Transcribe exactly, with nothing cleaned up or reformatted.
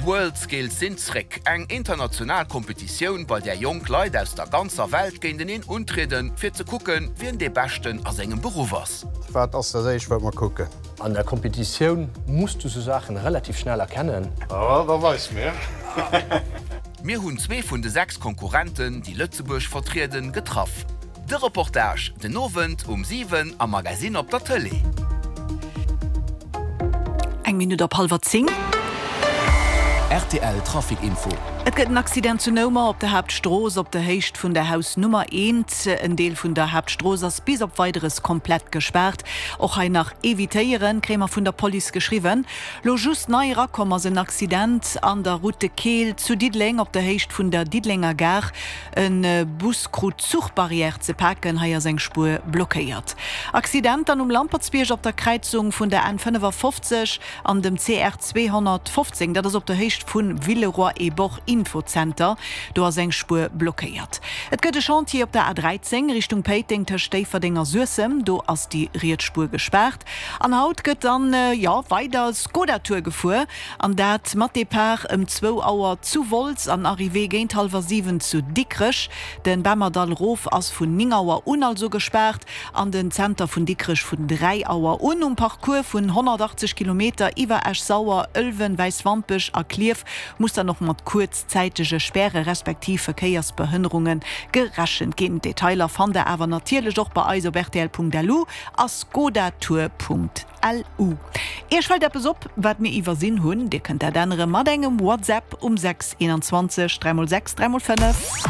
D'World Skills sinn zréck, eng international Kompetitioun, bei där jonk Leit aus der ganzer Welt géinteneen untrieden, fir ze kucken, wien dee Beschten a sengem Beruff ass. Wat ass dat éischt, wat mer kucken? An der Kompetitioun muss du sou Saachen relativ schnell erkennen. Oh, da weis mir. Mir hunn zwee vun de sechs Konkurrenten, déi Lëtzebuerg vertrieden, getraff. De Reportage den Owend um siwen am Magasinn op der Tëlee. Eng Minutt op hallwer zéng. Rtl Trafic Info. Et gëtt en Accident zu Noumer op der Haaptstrooss op der Héicht vun der Haus Nummer eent. En Deel vun der Haaptstrooss ass bis op Weideres komplett gespaart. Och hei nach evitéieren, kréie mer vun der Police geschriwwen. Lo just nei erakomm ass en Accident an der Route de Keel zu Diddeleng op der Héicht vun der Diddelenger Gare. E Bus krut d'Zuchbarrière ze paken, hei ass eng Spuer blockéiert. Accident dann um Lampertsbierg op der Kräizung vun der N fënnefafofzeg an dem C R zweehonnertfofzéng, dat ass op der Héicht vu Villeroy-et-Boch Infozenter, do ass eng Spuer blockéiert. Et gëtt e Chantier op der A dräizéng Richtung Péiteng tëscht Déifferdeng a Suessem, do ass déi riets Spuer gespaart. An haut gëtt dann, jo, weider Skoda Tour gefuer, an dat mat Depart ëm zwou Auer zu Wolz an Arrivée géint hallwer siwen zu Dikrech. Den Bemmerdall rof ass vun néng Auer un also gespaart an den Zenter vun Dikrech vun dräi Auer un. Um Parcours vun honnertachtzeg Kilometer iwwer Esch-Sauer, Ëlwen, Wäiswampech a Klierf muss dann och mat kuerzzäitege Späre respektiv Verkéiersbehënnerunge gerechent ginn. Detailer fannt der awer natierlech och bei eis op rtl Punkt L U a skodatour Punkt L U. Iech fält eppes op, wat mir iwwersinn hunn? Dir kënnt dat ännere mat engem WhatsApp um sechs eenanzwanzeg dräi mol sechs dräi mol fënnef.